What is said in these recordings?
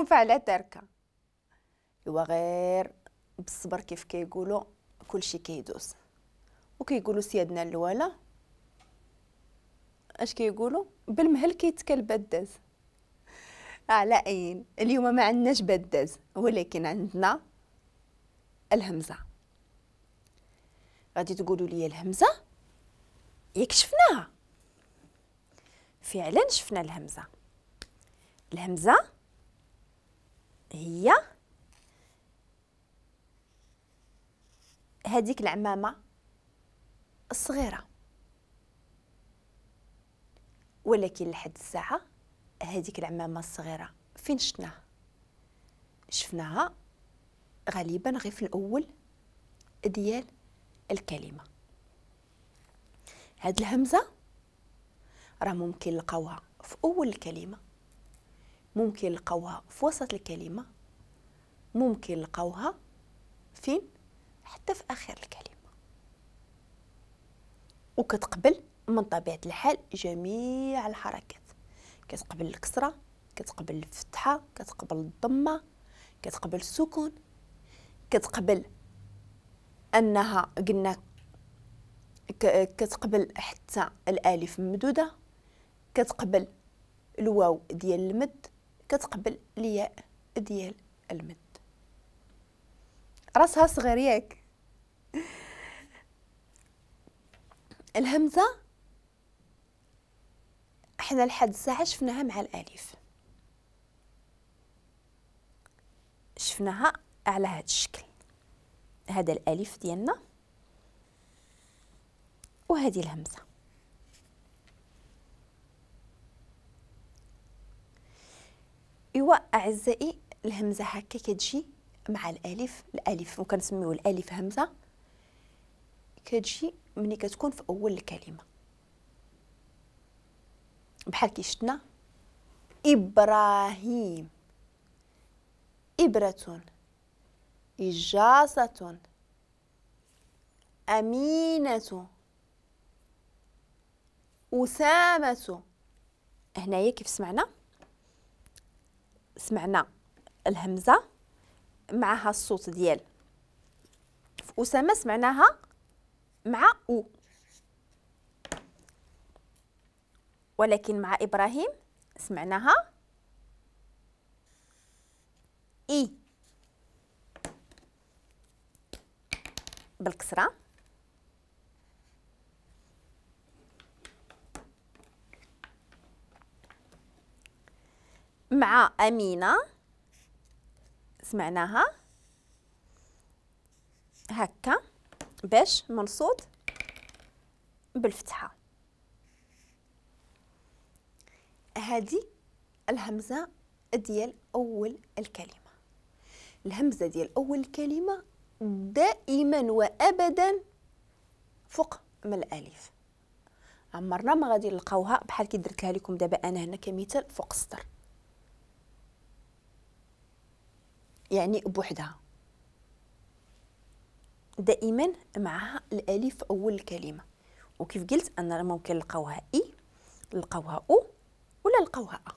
فعلا تركه. ايوا غير بالصبر كيف كيقولوا كلشي كيدوز. وكيقولوا سيادنا الوالا اش كيقولوا؟ بالمهل كيتكل بداز. على اين اليوم ما عندناش بداز، ولكن عندنا الهمزة. غادي تقولوا لي الهمزة ياك شفناها؟ فعلا شفنا الهمزة. الهمزة هي هذيك العمامة الصغيرة، ولكن لحد الساعة هذيك العمامة الصغيرة فين شفناها؟ شفناها غالبا غير في الاول ديال الكلمة. هاد الهمزة راه ممكن نلقاوها في اول الكلمة، ممكن نلقاوها في وسط الكلمة، ممكن نلقاوها فين؟ حتى في اخر الكلمة. وكتقبل من طبيعة الحال جميع الحركات، كتقبل الكسرة، كتقبل الفتحة، كتقبل الضمة، كتقبل السكون، كتقبل انها قلنا كتقبل حتى الالف ممدوده، كتقبل الواو ديال المد، كتقبل الياء ديال المد. راسها صغير ياك. الهمزة حنا لحد الساعة شفناها مع الالف، شفناها على هذا الشكل، هذا الالف ديالنا وهذه الهمزة. ايوا اعزائي الهمزة هكا كتجي مع الالف، الالف وكنسميو الالف همزه، كتجي ملي كتكون في اول الكلمة، بحال كي شفنا ابراهيم، ابره، إجاصة، أمينة، أسامة. هنايا كيف سمعنا؟ سمعنا الهمزة معها الصوت ديال في أسامة، سمعناها مع أو، ولكن مع إبراهيم سمعناها إي بالكسرة. مع أمينة سمعناها هكا باش منصوب بالفتحة. هذه الهمزة ديال أول الكلمة. الهمزة ديال أول الكلمة دائما وأبدا فوق من الألف، عمرنا ما غادي نلقاوها بحال كي درتها لكم دابا أنا هنا كمثال فوق السطر، يعني بوحدها، دائما معها الالف اول الكلمة. وكيف قلت ان ممكن نلقاوها اي، نلقاوها او، ولا نلقاوها ا.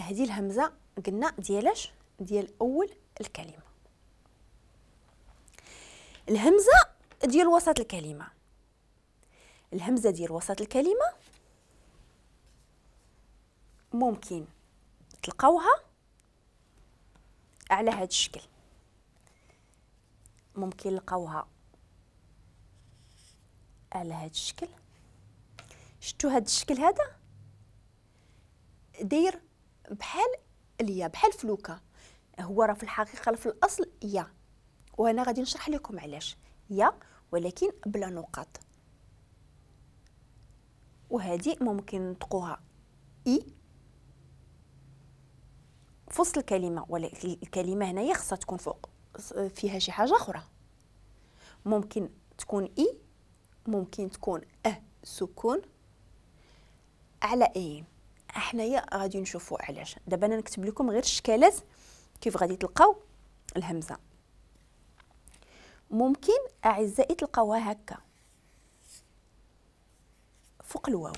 هذه الهمزة قلنا ديالاش؟ ديال اول الكلمة. الهمزة ديال وسط الكلمة، الهمزة ديال وسط الكلمة ممكن تلقاوها على هذا الشكل، ممكن نلقاوها على هذا الشكل. شفتوا هذا الشكل هذا داير بحال اليا، بحال فلوكه، هو راه في الحقيقة في الاصل يا، وانا غادي نشرح لكم علاش يا، ولكن بلا نقاط. وهذه ممكن نطقوها اي في وسط الكلمة، ولكن الكلمة هنايا خصها تكون فوق فيها شي حاجة اخرى، ممكن تكون اي، ممكن تكون ا سكون على اي. حنايا غادي نشوفوا علاش. دابا انا نكتب لكم غير الشكالات كيف غادي تلقاو الهمزة. ممكن اعزائي تلقاوها هكا فوق الواو،